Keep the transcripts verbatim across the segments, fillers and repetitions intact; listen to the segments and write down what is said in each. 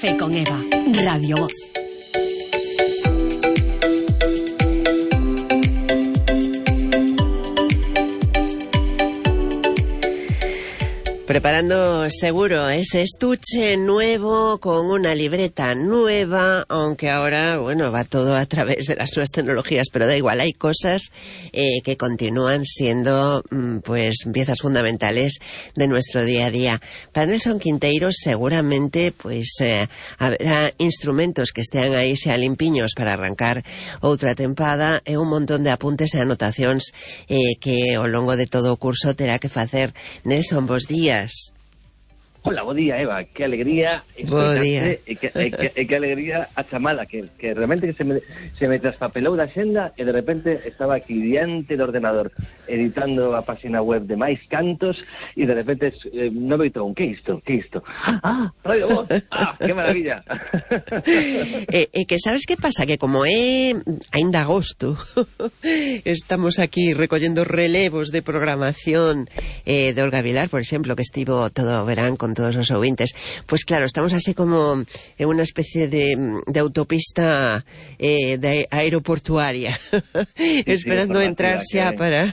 Fe con Eva, Radio Voz. Preparando seguro ese estuche nuevo con una libreta nueva, aunque ahora, bueno, va todo a través de las nuevas tecnologías, pero da igual, hay cosas eh, que continúan siendo pues piezas fundamentales de nuestro día a día. Para Nelson Quinteiro seguramente pues eh, habrá instrumentos que estean aí xa limpiños para arrancar outra tempada e un montón de apuntes e anotacións eh, que ao longo de todo o curso terá que facer. Nelson, bos días. Hola, bo día, Eva, que alegría escoitarte e que, e, que, e que alegría a chamada, que, que realmente se me, se me traspapelou da xenda e de repente estaba aquí diante do ordenador editando a página web de Mais Cantos e de repente eh, non veitou un, que isto, que isto? Ah, Radio Voz, ah, que maravilla. E, e que sabes que pasa? Que como é ainda agosto, estamos aquí recollendo relevos de programación eh, de Olga Vilar, por exemplo, que estivo todo o verán con todos os ouvintes, pues claro, estamos así como en unha especie de, de autopista eh, de aeroportuaria sí, esperando sí, entrar xa para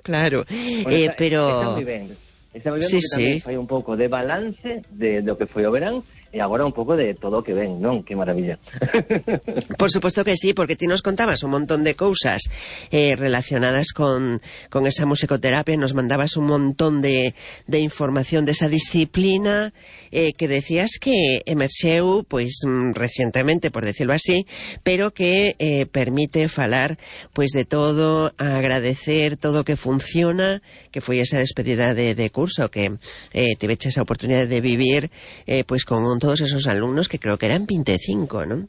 claro, bueno, eh, está, pero está moi ben, está moi ben sí, porque tamén sí. fai un pouco de balance de do que foi o verán e agora un pouco de todo o que ven, non? Que maravilla. Por suposto que sí, porque ti nos contabas un montón de cousas eh, relacionadas con, con esa musicoterapia, nos mandabas un montón de, de información de esa disciplina eh, que decías que emerxeu pois recientemente, por decirlo así, pero que eh, permite falar pois de todo, agradecer todo o que funciona, que foi esa despedida de, de curso que eh, tiveches a oportunidade de vivir eh, pois con un todos esos alumnos que creo que eran veinticinco, ¿no?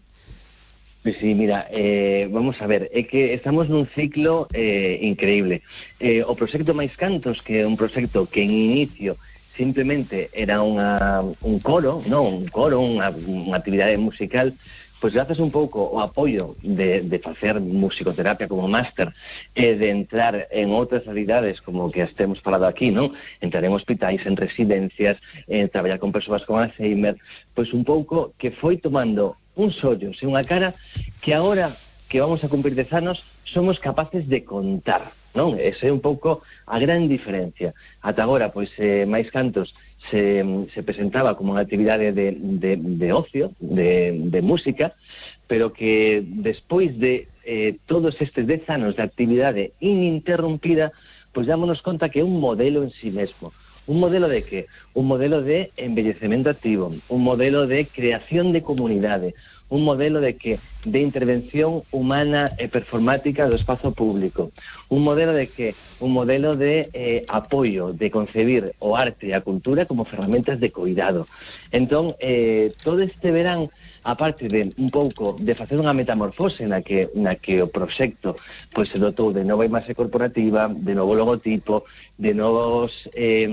Pues sí, mira, eh, vamos a ver, é que estamos nun ciclo eh, increíble. Eh, o proxecto Mais Cantos, que é un proxecto que en inicio simplemente era unha, un coro, non, un coro, unha, unha actividade musical, pois grazas un pouco o apoio de, de facer musicoterapia como máster e de entrar en outras realidades como que as temos falado aquí, non? Entrar en hospitais, en residencias, en traballar con persoas con Alzheimer, pois un pouco que foi tomando un sollos e unha cara que agora que vamos a cumprir dez anos somos capaces de contar, non? Ese é un pouco a gran diferencia. Ata agora, pois, eh, Mais Cantos se, se presentaba como unha actividade de, de, de ocio, de, de música, pero que despois de eh, todos estes dez anos de actividade ininterrumpida, pois dámonos conta que é un modelo en sí mesmo. Un modelo de que? Un modelo de embellecemento activo, un modelo de creación de comunidade, un modelo de que de intervención humana e performática do espazo público, un modelo de que un modelo de eh, apoio, de concebir o arte e a cultura como ferramentas de cuidado. Entón, eh, todo este verán, aparte de un pouco de facer unha metamorfose na que, na que o proxecto pois, se dotou de nova imaxe corporativa, de novo logotipo, de novos eh,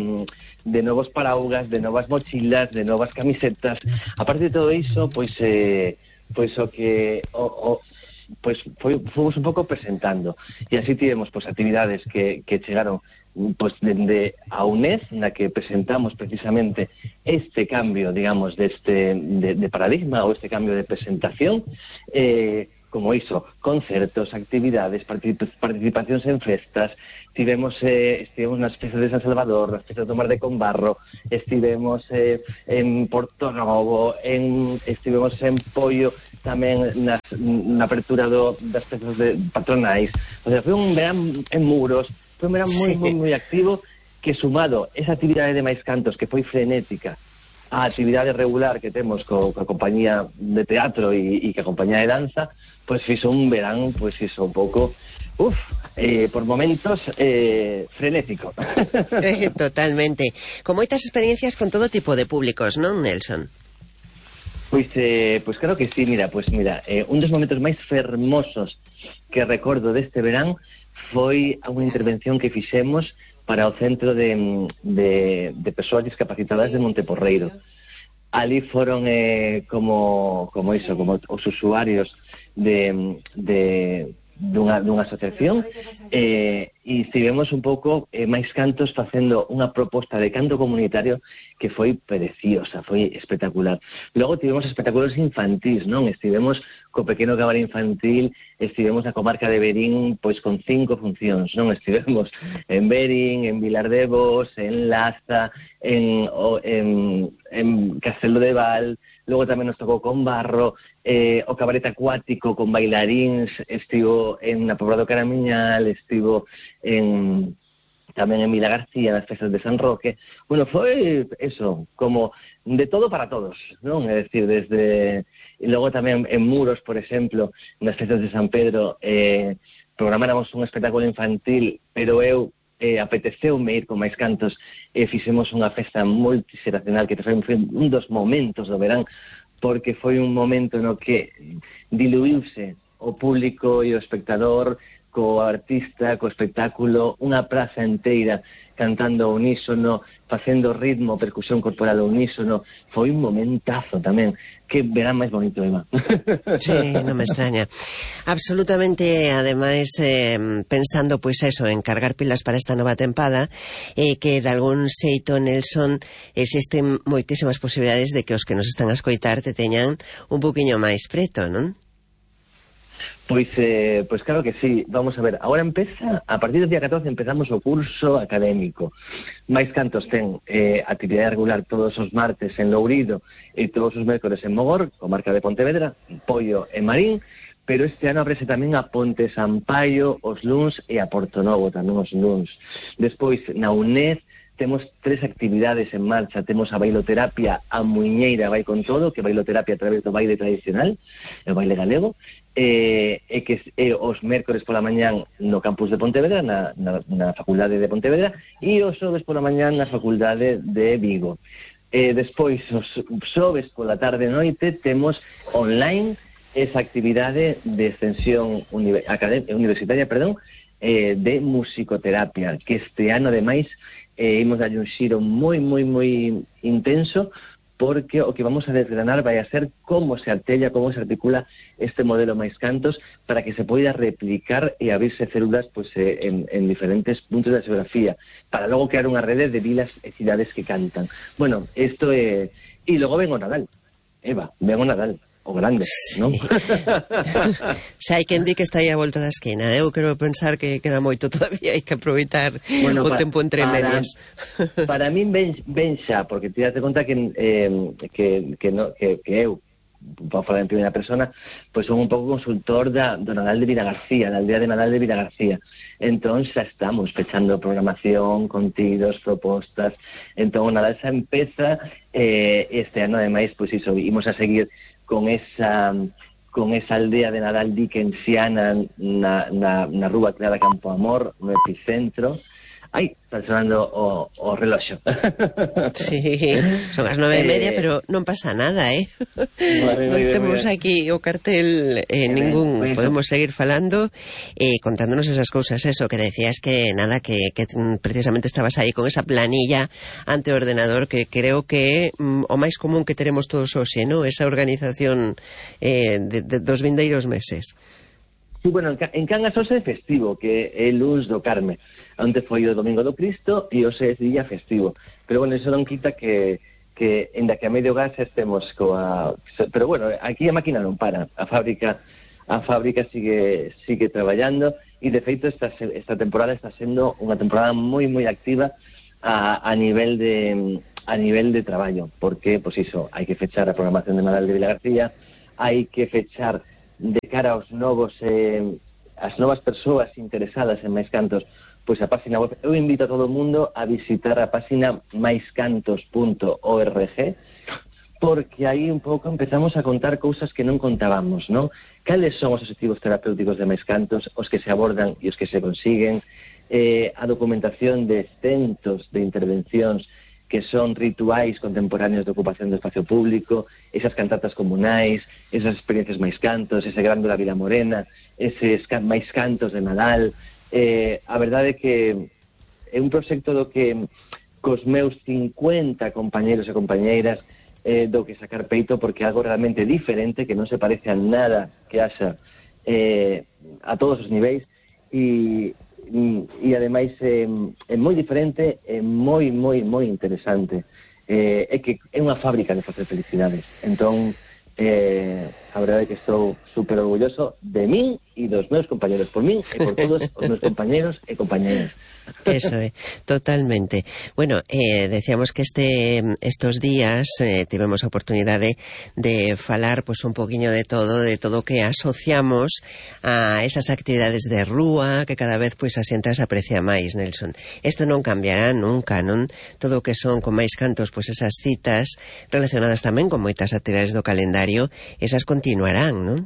de novos paraugas, de novas mochilas, de novas camisetas. Aparte de todo iso, pois eh, pois o que o, o pois foi, fomos un pouco presentando e así tivemos pois actividades que, que chegaron pois dende a UNED, na que presentamos precisamente este cambio, digamos, deste de, de paradigma ou este cambio de presentación, eh, como iso, concertos, actividades, particip participacións en festas, tivemos, eh, estivemos nas festas de San Salvador, nas festas do Mar de Combarro, estivemos eh, en Porto Novo, en, estivemos en Pollo, tamén nas, na apertura do, das festas de patronais. O sea, foi un verán en Muros, foi un verán moi, moi, moi activo, que sumado esa actividade de Mais Cantos, que foi frenética, a actividade regular que temos co, co a compañía de teatro e, e que a compañía de danza, pois fixo un verán, pois fixo un pouco, uff, eh, por momentos eh, frenético. Eh, totalmente. Con moitas experiencias con todo tipo de públicos, non, Nelson? Pois, eh, pois claro que sí, mira, pois mira, eh, un dos momentos máis fermosos que recordo deste verán foi unha intervención que fixemos para o Centro de, de, de Persoas Discapacitadas de Monteporreiro. Ali foron eh, como, como iso, como os usuarios de, de, dunha, dunha asociación eh, e estivemos un pouco eh, máis cantos facendo unha proposta de canto comunitario que foi preciosa, foi espectacular. Logo tivemos espectáculos infantís, non? Estivemos co pequeno cabaret infantil, estivemos na comarca de Verín pois con cinco funcións, non? Estivemos en Verín, en Vilar de Bos, en Laza, en, en, en Castelo de Val. Logo tamén nos tocou con Barro, eh, o cabaret acuático con bailaríns, estivo en na Pobra do Caramiñal, estivo en tamén en Vila García, nas festas de San Roque. Bueno, foi eso, como de todo para todos, non? É dicir, desde... E logo tamén en Muros, por exemplo, nas festas de San Pedro, eh, programáramos un espectáculo infantil, pero eu eh, apeteceume ir con máis cantos e fixemos unha festa multixeracional que foi un dos momentos do verán, porque foi un momento no que diluíuse o público e o espectador co artista, co espectáculo, unha praza inteira cantando ao unísono, facendo ritmo, percusión corporal ao unísono. Foi un momentazo tamén. Que verán máis bonito, Eva. Sí, non me extraña. Absolutamente, ademais, eh, pensando, pois eso, en cargar pilas para esta nova tempada, eh, que de algún xeito, Nelson, existen moitísimas posibilidades de que os que nos están a escoitar te teñan un poquinho máis preto, non? Pois, eh, pois claro que sí. Vamos a ver, agora empeza, a partir do día catorce empezamos o curso académico. Máis cantos ten eh, actividade regular todos os martes en Lourido e todos os mércores en Mogor, comarca de Pontevedra, Poio e Marín, pero este ano abrese tamén a Ponte Sampaio os luns e a Portonovo tamén os luns. Despois, na UNED, temos tres actividades en marcha. Temos a bailoterapia a Muiñeira vai con todo, que bailoterapia a través do baile tradicional, o baile galego, e, e que e os mércores pola mañán no campus de Pontevedra, na, na, na facultade de Pontevedra, e os xoves pola mañán na facultade de Vigo. E despois, os xoves pola tarde e noite, temos online esa actividade de extensión universitaria, perdón, eh, de musicoterapia, que este ano, ademais, eh, imos darlle un xiro moi, moi, moi intenso, porque o que vamos a desgranar vai a ser como se artella, como se articula este modelo máis cantos para que se poida replicar e abrirse células pues, eh, en, en diferentes puntos da xeografía, para logo crear unha rede de vilas e cidades que cantan. Bueno, isto é... E logo ven o Nadal, Eva, ven o Nadal. O grande, sí. Non? Se hai quen di que está aí a volta da esquina, eu quero pensar que queda moito todavía, hai que aproveitar bueno, o pa, tempo entre para, medias. Para min ben, ben xa, porque te das conta que, eh, que, que, no, que, que eu, para falar en primeira persona, pois son un pouco consultor da, do Nadal de Vila García, da aldea de Nadal de Vila García. Entón xa estamos pechando programación, contidos, propostas. Entón o Nadal xa empeza, eh, este ano ademais, pois iso, imos a seguir con esa con esa aldea de Nadal dickensiana na, na, na rúa Clara Campo Amor, no epicentro. Ai, está sonando o, o reloxo. Sí, son as nove e media, eh, pero non pasa nada, eh? Vale, non temos aquí o cartel eh, ningún, bueno. Podemos seguir falando eh, contándonos esas cousas, eso, que decías que nada, que, que precisamente estabas aí con esa planilla ante o ordenador, que creo que mm, o máis común que teremos todos hoxe, ¿no? Esa organización eh, de, de, dos vindeiros meses. Sí, bueno, en Cangas hoxe é festivo, que é Luns do Carme. Antes foi o Domingo do Cristo e hoxe é día festivo. Pero, bueno, iso non quita que, que en da que a medio gas estemos coa... Pero, bueno, aquí a máquina non para. A fábrica a fábrica sigue sigue traballando e, de feito, esta, esta temporada está sendo unha temporada moi, moi activa a, a nivel de a nivel de traballo. Porque, pois pues iso, hai que fechar a programación de Nadal de Vila García, hai que fechar de cara aos novos eh, as novas persoas interesadas en máis cantos, pois a página web. Eu invito a todo o mundo a visitar a página máis cantos punto org, porque aí un pouco empezamos a contar cousas que non contábamos, non? Cales son os objetivos terapéuticos de máis cantos, os que se abordan e os que se consiguen, eh, a documentación de centos de intervencións que son rituais contemporáneos de ocupación do espacio público, esas cantatas comunais, esas experiencias máis cantos, ese grande da Vila Morena, eses can máis cantos de Nadal. Eh, a verdade é que é un proxecto do que cos meus cincuenta compañeros e compañeiras eh, do que sacar peito, porque é algo realmente diferente, que non se parece a nada que haxa eh, a todos os niveis, e, e ademais é, é moi diferente, é moi, moi, moi interesante. Eh, é que é unha fábrica de facer felicidades. Entón, eh, a verdade é que estou super orgulloso de min e dos meus compañeros, por min e por todos os meus compañeros e compañeras. Eso é, totalmente. Bueno, eh, decíamos que este estos días eh, tivemos a oportunidade de falar pues un poquinho de todo, de todo que asociamos a esas actividades de rúa que cada vez pues a xente as aprecia máis, Nelson. Isto non cambiará nunca, non? Todo o que son con máis cantos, pues esas citas relacionadas tamén con moitas actividades do calendario, esas continuarán, non?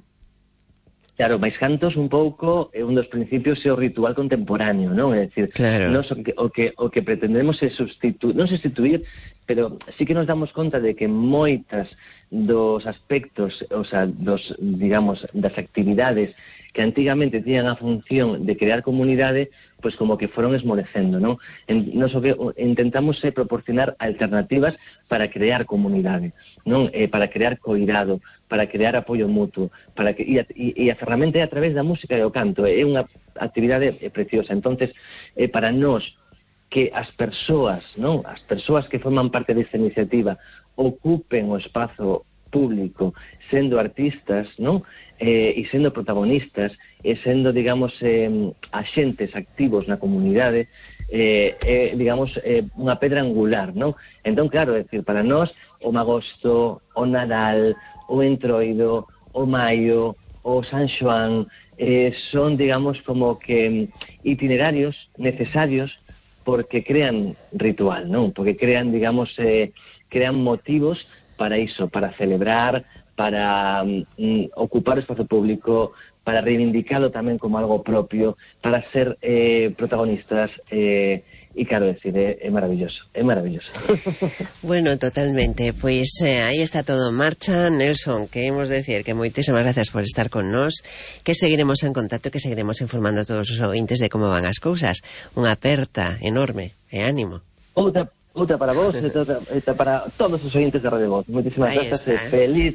Claro, máis cantos un pouco é un dos principios é o ritual contemporáneo, non? É dicir, claro. Nos, o, que, o, que, o que pretendemos é sustituir, non sustituir, pero sí que nos damos conta de que moitas dos aspectos, o sea, dos, digamos, das actividades que antigamente tiñan a función de crear comunidade, pois como que foron esmorecendo, non? En, nos o que intentamos é proporcionar alternativas para crear comunidade, non? Eh, para crear coidado, para crear apoio mutuo, para que, e, a, e, e a ferramenta é a través da música e o canto, é unha actividade preciosa. Entonces, eh, para nós, que as persoas, non? As persoas que forman parte desta iniciativa ocupen o espazo público sendo artistas, non? Eh, e sendo protagonistas e sendo, digamos, eh, axentes activos na comunidade, eh, eh, digamos, eh, unha pedra angular, non? Entón, claro, é dicir, para nós o magosto, o Nadal, o Entroido, o Maio, o San Xoán, eh, son, digamos, como que itinerarios necesarios porque crean ritual, non? Porque crean, digamos, eh, crean motivos para iso, para celebrar, para mm, ocupar o espazo público, para reivindicarlo tamén como algo propio, para ser eh, protagonistas, eh, e claro, decir, é, é maravilloso, é maravilloso. Bueno, totalmente, pois eh, aí está todo en marcha. Nelson, queremos decir que moitísimas gracias por estar con nós, que seguiremos en contacto, que seguiremos informando a todos os ouvintes de como van as cousas. Unha aperta enorme, e ánimo. Outra Outra para vos e outra, outra para todos os ointes de Radio Voz. Moitísimas Ahí grazas e está. feliz,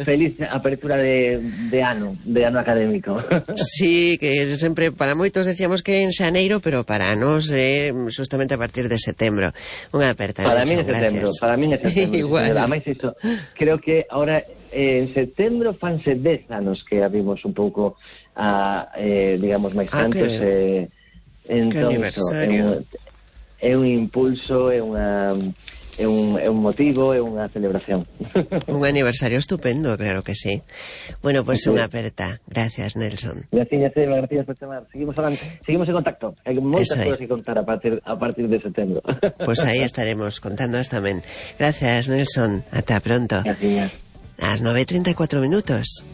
feliz apertura de, de ano, de ano académico. Sí, que sempre para moitos decíamos que en xaneiro, pero para nós é eh, justamente a partir de setembro. Unha aperta. Para Nelson, mí é setembro, gracias. para mí é setembro. Igual. Ademais, iso, creo que ahora eh, en setembro fanse dez anos que abrimos un pouco a, eh, digamos, máis Ah, cantos. que- Eh, entón, que aniversario. Iso, é un, é un impulso, é unha... É un, é un motivo, é unha celebración. Un aniversario estupendo, claro que sí. Bueno, pues Sí. unha aperta. Gracias, Nelson. Gracias, Eva, gracias por chamar. Seguimos adelante, seguimos en contacto. Hai moitas Eso é. cousas que contar a partir, a partir de setembro. Pues aí estaremos contándoas tamén. Gracias, Nelson. Ata pronto. Gracias. Las nueve y treinta y cuatro minutos.